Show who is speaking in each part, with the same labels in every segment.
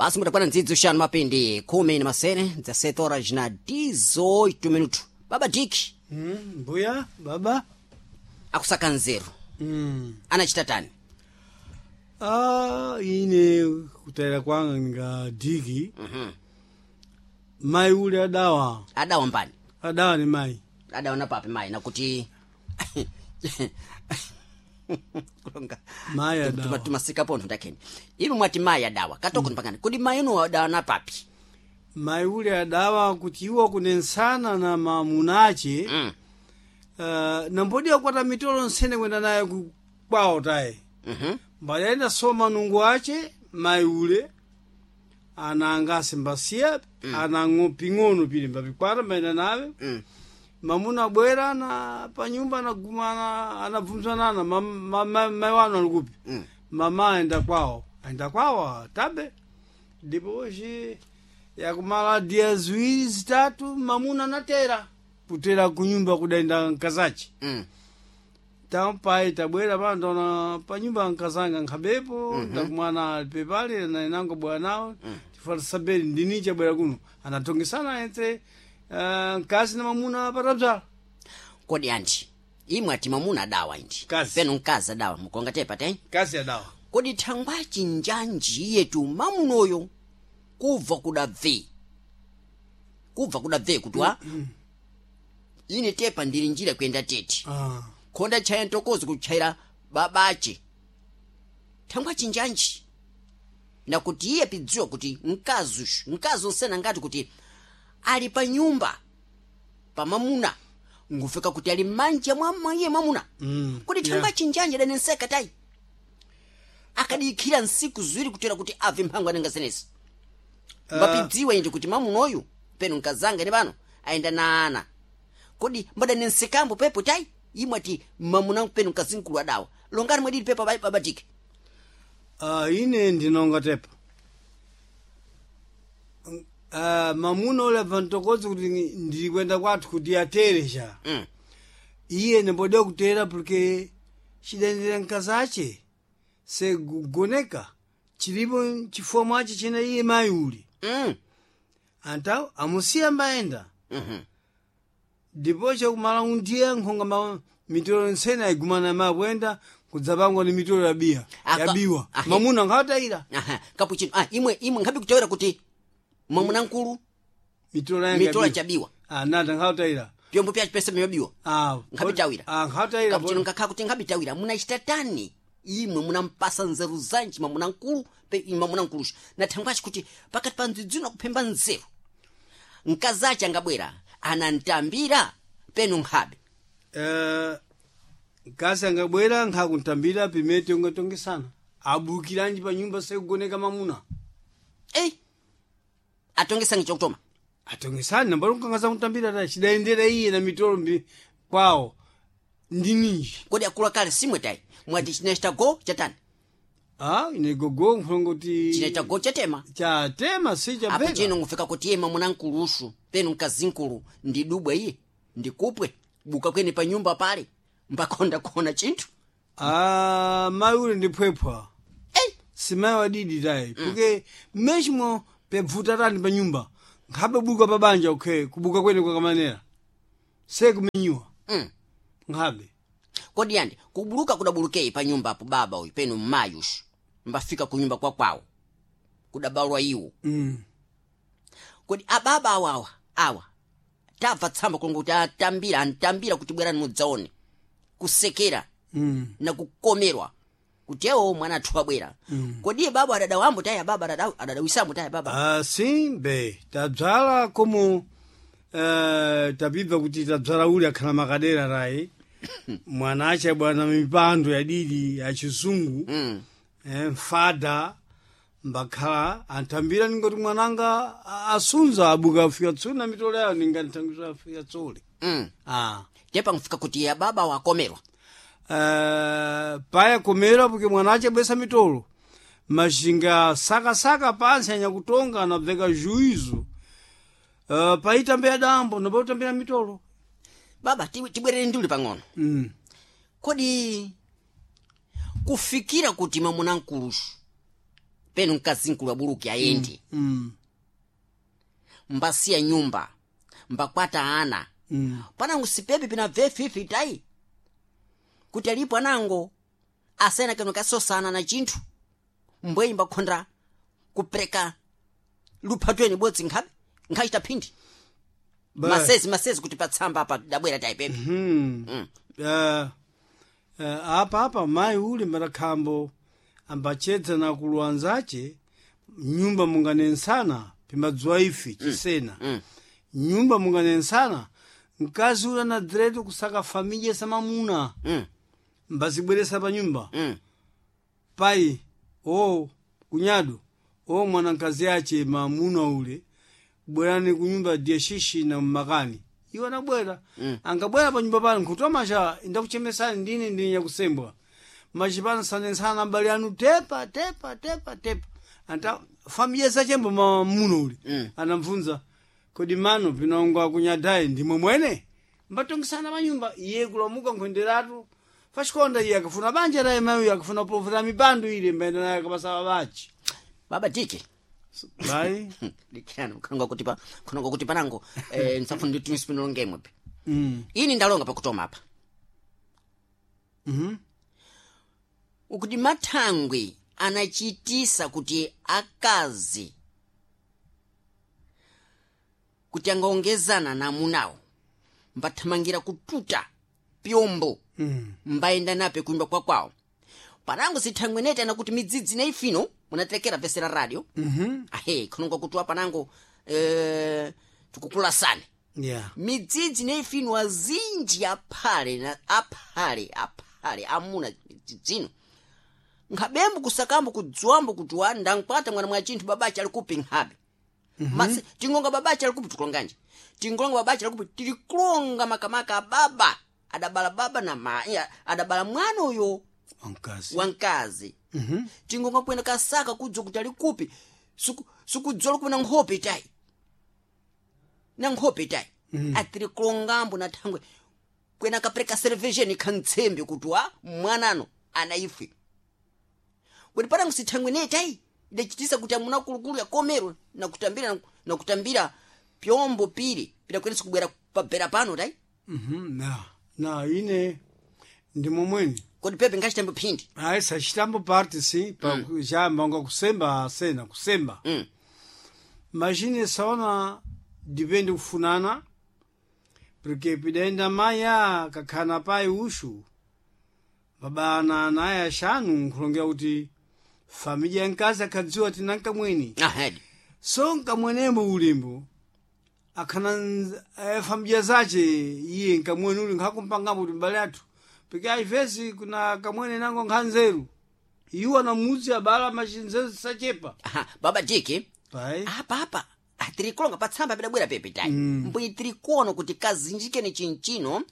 Speaker 1: Basi mutakwana ndzidzo xanu mapindi khumi na masene dza 7 horas na 18 minuto. Baba Dick.
Speaker 2: Mbuya baba
Speaker 1: akusaka nzeru. Anachita tani?
Speaker 2: Ah, ine kutayira kwanga nga diki. Mayi ule adawa.
Speaker 1: Adawa mbani?
Speaker 2: Adawa ni mayi.
Speaker 1: Adawa na papi mayi nakuti kulonga
Speaker 2: Mayi adawa.
Speaker 1: Tumasika pontho ndakheni inu mwati mayi adawa katoko mpakani kodi mayi inu adawa na papi?
Speaker 2: Mayi ule adawa kuti iwo kunensana na mamunache. Nambodi akwata mitolo nsene kwenda naye kwawo taye. Mbayenda soma nungu ache mayi ule ananga simbasiya ana ping'ono pili mbapikwata mbayenda nawe. Mamuna abwera na panyumba anagumana anabvunzanana mayi wanu alikupi? Mama aenda kwawo, aenda kwawo tabe. Ndipo hoje yakumala dia ziwiri zitatu mamuna anatera kutera kunyumba kudaenda nkazache. Tampai tabwera pano ndaona panyumba nkazanga nkhabepo. Ndakumana alipe pale na inango bwana nawo. Tifata sabeni ndini chabwera kuno anatongesana entre mkazi na mamuna patabzala.
Speaker 1: Kodi anti imwe ati mamuna adawa indi
Speaker 2: Mkazi.
Speaker 1: peno mkazi adawa mukonga tepa te
Speaker 2: Mkazi adawa.
Speaker 1: Kodi thangwachi njanji iyetu mamunoyo kubva kudabve kubva kudabve kutwa ine tepa ndili njira kuyenda tete. Khonda chaya ntokozi kutchaira babache thangwachi njanji nakuti iye pidziwa kuti mkazi ushu mkazi onsena ngati kuti ali pa nyumba pa mamuna ngufika kuti ali manja mwa iye mwamuna. Kodi thangwachi njanji adanenseka tayi akadikhira nsiku ziwiri kutera kuti abve mphango anenga zenezi. Mbapidziwa indi kuti mamunoyu peno nkazanga ne pano ayenda na ana. Kodi mbadanensekambo pepo tayi imwe ati mamuna peno mkazinkulu adawa longani mwadili pepo babatike.
Speaker 2: Ine ndinonga tepa. Mamuna ule abva ntokozi kuti ndili kwenda kwathu kuti atere cha. Iye nambodiwa kutera porque chidendera mkazache segugoneka chilipo chifuwa mwache chena iye mayi uli. Antawo amusiya mbayenda. Ndipo chakumala undiya nkhonga mitolo ntsene ayigumana mayi kuyenda kudzapangwa ni mitolo yabiya. Yabiwa. Mamuna nkhawatayira.
Speaker 1: Aha, kapuchino. Ah, imwe imwe nkhabi kutawera kuti mwamuna nkulu
Speaker 2: mitolo yanga
Speaker 1: mitolo
Speaker 2: yabiwa.
Speaker 1: chabiwa.
Speaker 2: Ah, nata nkhawatayira.
Speaker 1: Pyombo pya pesa myabiwa.
Speaker 2: Ah,
Speaker 1: Nkhabitawira.
Speaker 2: Ah, nkhawatayira.
Speaker 1: Kapuchino nkakhala kuti nkhabitawira munachita tani imwe munampasa nzeru zanji mwamuna nkulu pe mwamuna nkulusha na thangwachi kuti pakati pa ndzidzino kuphemba nzeru mkazache angabwera anantambira peno nkhabe.
Speaker 2: Mkazi angabwera nkhakuntambira pimene tongatongesana abukiranji pa nyumba sekugoneka mamuna.
Speaker 1: Atongesange chokutoma.
Speaker 2: Atongesani nambali nkangaza kuntambira ta chidayendera iye na mitolo mbi kwawo ndi ninji.
Speaker 1: Kodi akulu kale simwe tayi mwati chinachita go chatani?
Speaker 2: Ah, ine gogo nkhulongo kuti
Speaker 1: chinachita go chatema.
Speaker 2: Chatema si
Speaker 1: apo
Speaker 2: chabveka.
Speaker 1: chino ngufika kuti iye mwamuna nkulusu peno mkazinkulu ndidubwa iye ndikupwe buka kwene pa nyumba pale mbakonda kuona chinthu.
Speaker 2: Ah, mayi ule ndi phwephwa. Simayi wadidi tayi porque mmechimo pebvuta tani pa nyumba nkhabe buka pa banja ukhe kubuka kwene kwakamanera sekumenyiwa. Nkhabe.
Speaker 1: Kodi yandi kubuluka kudabulukeyi pa nyumba apo baba uyu peno mmayi ushu mbafika ku nyumba kwa kwawo kudabalwa iwo. Kodi ababa awawa awa tabva tsamba kulonga kuti atambira antambira kuti bwerani mudzaone kusekera na kukomerwa kuti ewo mwana athu abwera. Kodi iye baba adadawambo tayi ababa adadawisambo tayi baba.
Speaker 2: Simbe tabzala komo tapibva kuti tabzala uli akhala makadera tayi mwana ache bwana mipando yadidi ya chizungu. Mfada mbakhala antambira ningoti mwananga asunza abuka afika tsuli na mitolo yawo ninganthangisa afika tsuli.
Speaker 1: Tepa nkufika kuti ya baba wakomerwa.
Speaker 2: Paya komera porque mwana ache bwesa mitolo mashinga sakasaka pansi anyakutonga anabveka juizo. Paitambira dambo nopotambira mitolo.
Speaker 1: Baba tibwerere nduli pang'ono. Kodi kufikira kuti mwamuna nkulusu Penu mkazi nkulu abuluki ayendi. Mbasiya nyumba, mbakwata ana. Panango sipepe pina vefifi tayi kuti alipo anango asena kano kasosana na chinthu, mbweyi mbakhonda kupereka luphatweni bodzi nkhabe nkhachita phindi. Masezi masezi kuti patsamba apa dabwera tayi pepe.
Speaker 2: Apa apa mayi uli mbatakhambo ambachedza na akulu anzace nyumba munganensana pimbadziwa ife chisena. Nyumba munganensana, mkazi uli anadziretu kusaka familya samamuna. Mbazibweresa pa nyumba. Pai o kunyado o mwanankazi ache mamuna ule, bwerani kunyumba diye shishi na mmakani. Iwo anabwera. Angabwera pa nyumba pano nkutomasha ndakuchemesani ndine ndine nyakusembwa machipano sanensana abale anu tepa tepa tepa tepa anta familia zachembo mamuna ule. Anamvunza kodi mano pinongo akunyadayi ndimwe mwene mbatongisana manyumba iye kulamuka nkhwenderatu faxikonda iye akafuna banja laye mayi akafuna profera mipandu ile mbaenda naye akapasaba bachi.
Speaker 1: Baba Dike.
Speaker 2: Bai.
Speaker 1: Dikirani khononga kuti pa khononga kuti panango nsafuna nditi nisipinolongemwe pe. Ini ndalonga pakutoma apa. Ukuti mathangwi anachitisa kuti akazi kuti angaongezana na amunawo mbathamangira kututa pyombo. Mbayenda nape kunyumba kwakwawo panango sithangwi nete anakuti midzidzi na ifino munatekera vese la radio. Ahe khononga kuti wa panango tikukulasani. Midzidzi na ifino azinji aphale na aphale aphale amuna midzidzino nkhabembo kusakambo kudziwambo kuti wa ndankwata mwana mwa chinthu babache ali kupi nkhabe. Masi tingonga babache ali kupi tikulonganje tingolonga babache ali kupi tilikulonga makamaka ababa adabala baba na ma ya, adabala mwana uyo
Speaker 2: wamkazi.
Speaker 1: Wamkazi. Tingonga kwenda kasaka kudzwa kuti ali kupi sukudzola kupi na nkhope tayi na nkhope tayi. Atiri kulongambo na thangwe kwena kapereka servejeni khantsembe kuti wa mwanano ana ife kuti panango sithangwe ne tayi idachitisa kuti amuna kulukulu yakomero nakutambira nakutambira pyombo pili pidakwenesa kubwera pabera pano tayi.
Speaker 2: Na na ine ndimwe mwene.
Speaker 1: Kodi pepe nkachitambo phindi?
Speaker 2: Ayi sachitambo parte si pa chamba unga kusemba asena kusemba. Machine saona dipende kufunana porque pidaenda maya kakhana pai ushu babana naye axanu nkhulongera kuti familya ya mkazi akhadziwa tina nkamweni.
Speaker 1: Ahedi.
Speaker 2: So nkamwenembo ulimbo akhana familya zace iye nkamweni uli nkhakumpangambo kuti mbale athu porque às kuna kamwene nango nkhanzeru iwo anamudzi abala machinzeru zisachepa.
Speaker 1: Aha, baba Diki.
Speaker 2: Pai.
Speaker 1: Apa apa tirikulonga patsamba pidabwera pepe tayi. Mbwi tirikuona kuti kazinjikeni chinchino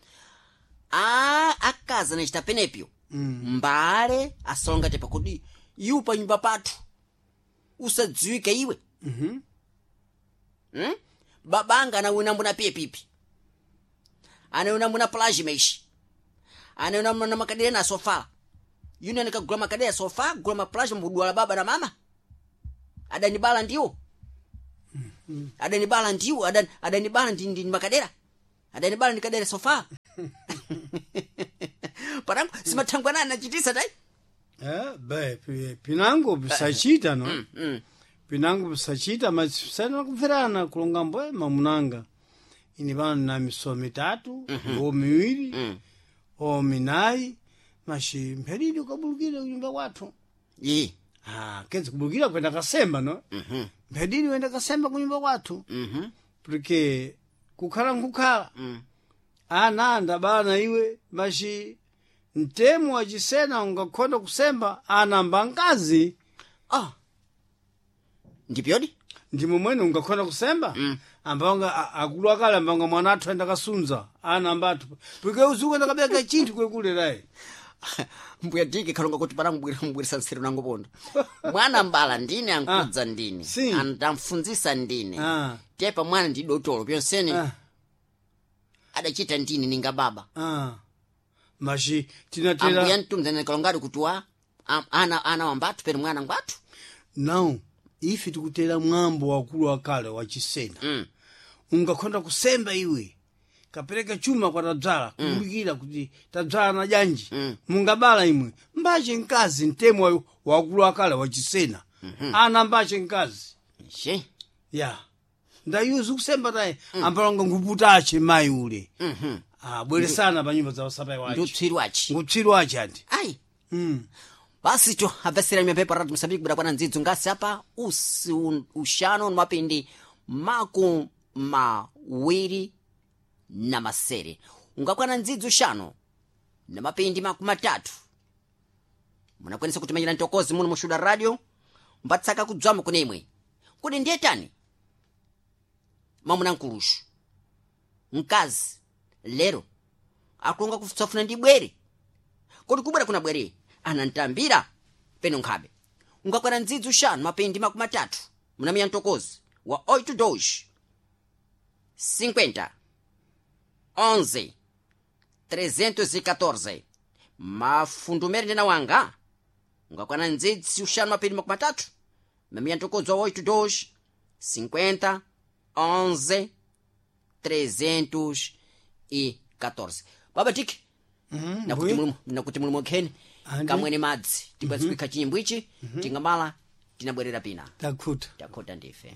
Speaker 1: a akazi anachita penepyo. Mbale asalonga tepa kuti iwe pa nyumba pathu usadziwike iwe. Babanga anawina mbuna piye pipi anawina mbuna plajima ishi anawina mbuna makadera na sofa yuni anikagula makadera sofa gula maplajima mbudwala baba na mama adanibala ndiwo adanibala ndiwo adanibala ndi makadera adanibala ndi kadera sofa parangu simathangwa nani nachitisa tayi.
Speaker 2: Be pinango pisachita no pinango pisachita masana kumverana kulonga mbwe mamunanga ini pano na misomo mitatu o miwiri o minayi mashi mpheridi ukabulukire kunyumba kwathu.
Speaker 1: Yi.
Speaker 2: Ah, kenzi kubulukira kwenda kasemba no mphedidi wenda kasemba kunyumba kwathu porque kukhala nkukhala ana ndabala na iwe mashi mtemo wachisena ungakhonda kusemba anamba nkazi.
Speaker 1: Ah, ndipyodi.
Speaker 2: Ndimwe mwene ungakhonda kusemba ambanga akulu akale ambanga mwana athu aenda kasunza ana athu porque uzuku enda kabeka chinthu kwekulerayi.
Speaker 1: Mbuya Diki kalonga kuti pana mbwirisa nseru nango pondo mwana mbala ndine ankudza ndine.
Speaker 2: Si.
Speaker 1: Andamfunzisa ndine. Tepa mwana ndi dotolo pyonsene. Adachita ndine ninga baba.
Speaker 2: Mashi tinatera
Speaker 1: ambuya mtumza kalongadi kuti wa ana wambathu pene mwana ngwathu.
Speaker 2: Now ife tikutera mwambo wakulu wakale wachisena. Ungakhonda kusemba iwe kapereka chuma kwa tadzala kumbukira kuti tadzala na janji. Mungabala imwe mbache mkazi mtemo wakulu wakale wachisena. Ana mbache mkazi.
Speaker 1: She.
Speaker 2: Ya, ndayuzi kusemba taye ambalonga nguputache mayi ule. Bweresana pa nyumba za wasapai wache.
Speaker 1: Ndiutswiri achi.
Speaker 2: Ngutswiri wache anti.
Speaker 1: Ayi. Basi to abvesera mpepo rati mosambiki kuda kwana ndzidzo ngasi apa usi uxano mapindi 27 ungakwana ndzidzo uxano na mapindi 30 munakwanisa kutimanyira ntokozi muno muxuda radio mbatsaka kudzwama kune imwe kuti ndiye tani mamuna nkuluxu mkazi lero akulonga kutsafuna ndi bwere kodi kubwera kuna bwere anantambira peno nkhabe ungakwana ndzidzi uxanu mapindi 30 munamiya mtokozi wa 82 50 11 314 mafundumere ndena wanga ungakwana ndzidzi uxanu mapindi 30 mamiya mtokozi wa 82 50 11 314 baba tiki nakuti
Speaker 2: mbuye.
Speaker 1: mulimu nakuti mulimu kheni
Speaker 2: Andi.
Speaker 1: kamwene madzi tikwanisa kuikha chinyimbo ichi tingamala tinabwerera pina.
Speaker 2: Takhuta.
Speaker 1: Takhota ndife.